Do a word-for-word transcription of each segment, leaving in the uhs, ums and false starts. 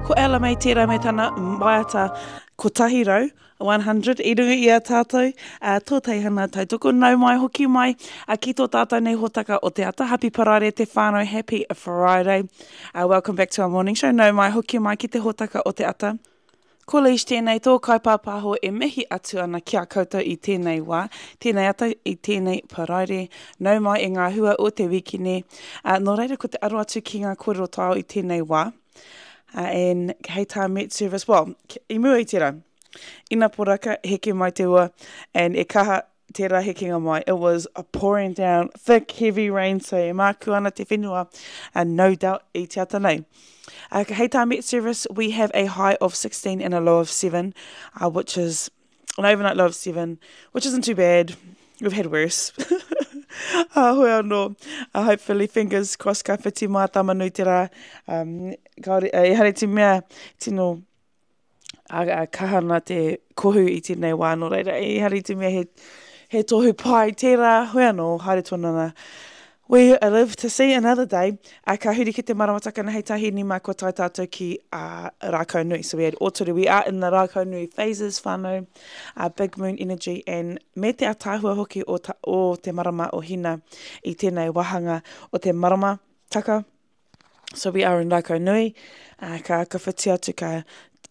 Ko Ella Mai tērā me tana waiata kotahi rau, one hundred, i runga i a tātou, uh, tō teihana tautoko, nau mai hoki mai uh, ki tō tātou nei hōtaka o te ata. Happy Paraire te whānau, happy Friday. Uh, welcome back to our morning show. Nau mai hoki mai ki te hōtaka o te ata. Ko Leish tēnei, tō kaipāpāho e mihi atu ana ki a koutou i tēnei wā, tēnei ata, i tēnei paraire, nau mai e ngā hua o te wikine. Uh, nō reira ko te aro atu ki ngā kōrero taiao i tēnei wā. Uh, and hei tā Met Service, well, i mua i tērā, ina poraka, heke mai te ua, and e kaha tērā hekenga mai. It was a pouring down, thick, heavy rain, so e māku ana te whenua, and no doubt i te ata nei. Uh, hei tā Met Service, we have a high of sixteen and a low of seven, uh, which is an overnight low of seven, which isn't too bad. We've had worse. Uh, hoi anō, uh, hopefully, fingers crossed, ka whiti mā Tamanui te rā. Um, kaore, uh, ehara i te mea tino uh, uh, kaha ana te kohu i tēnei wā, nō reira, ehara i te mea he, he tohu pai tērā, hoi anō, haere tonu ana. We live to see another day. Uh, ka huri ki te maramataka na hei tahi ni mā kua tae tātou ki uh, Rākau Nui. So we had Ōtore, we are in the Rākau Nui phases, whānau, uh, big moon energy, and me te ataahua hoki o, ta, o te marama o Hina i tēnei wāhanga o te maramataka. So we are in Rākau Nui, uh, ka, ka whiti atu ka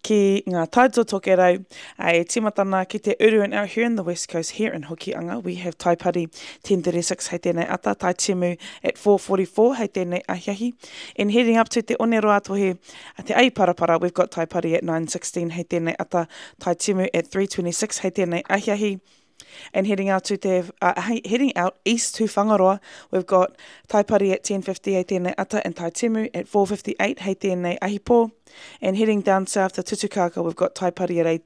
ki ngā taito tokerau, uh, e tīmatana ki te uru and out here in the West Coast, here in Hokianga, we have Taipari ten thirty-six hei tēnei ata, Tai Timu at four forty-four hei tēnei ahiahi. And heading up to te Oneroa Tohe, te Aiparapara, we've got Taipari at nine sixteen hei tēnei ata, Tai Timu at three twenty-six hei tēnei ahiahi. And heading out to te, uh, heading out east to Whangaroa, we've got Taipari at ten fifty hei tēnei ata and Tai Timu at four fifty-eight hei tēnei ahipo. And heading down south to Tutukaka, we've got Taipari at eight,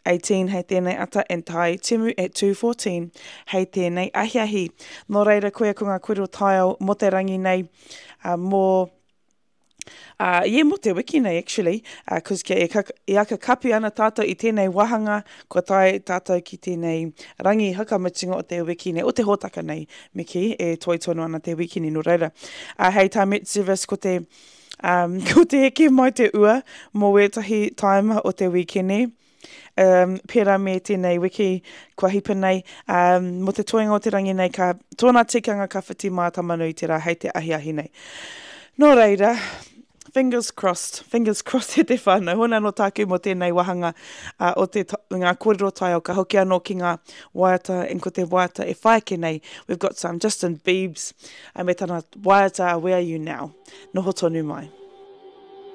eighteen hei tēnei ata and Tai Timu at two fourteen hei tēnei ahiahi. Nō reira koe ko ngā kōrero taiao mō te rangi nei, uh, mō Uh, yeah, mō te wiki nei, actually, uh, cause kia e, kaka, e aka kapi ana tātou i tēnei wāhanga, kua tae tātou ki tēnei rangi hakamutunga o te wiki nei, o te hōtaka nei, me kī, e toi tonu ana te wiki nei, nō reira. Uh, hei tā Met Service, ko te, um, ko te heke mai te ua mō wētahi taima o te wiki nei. Um, pērā me tēnei wiki kua hipa nei, um, mō te toenga o te rangi nei, ka, tōna tikanga ka whiti mā Tamanui te rā hei te ahiahi nei. Nō reira, fingers crossed, fingers crossed e te whānau. Hona no tāku mō tēnei wāhanga, uh, o te ngā kōrero taiao, ka hoki anō ki ngā waiata, en ko te waiata e whai ake nei. We've got some Justin Biebs, uh, me tana waiata Where Are You Now? Noho tonu mai.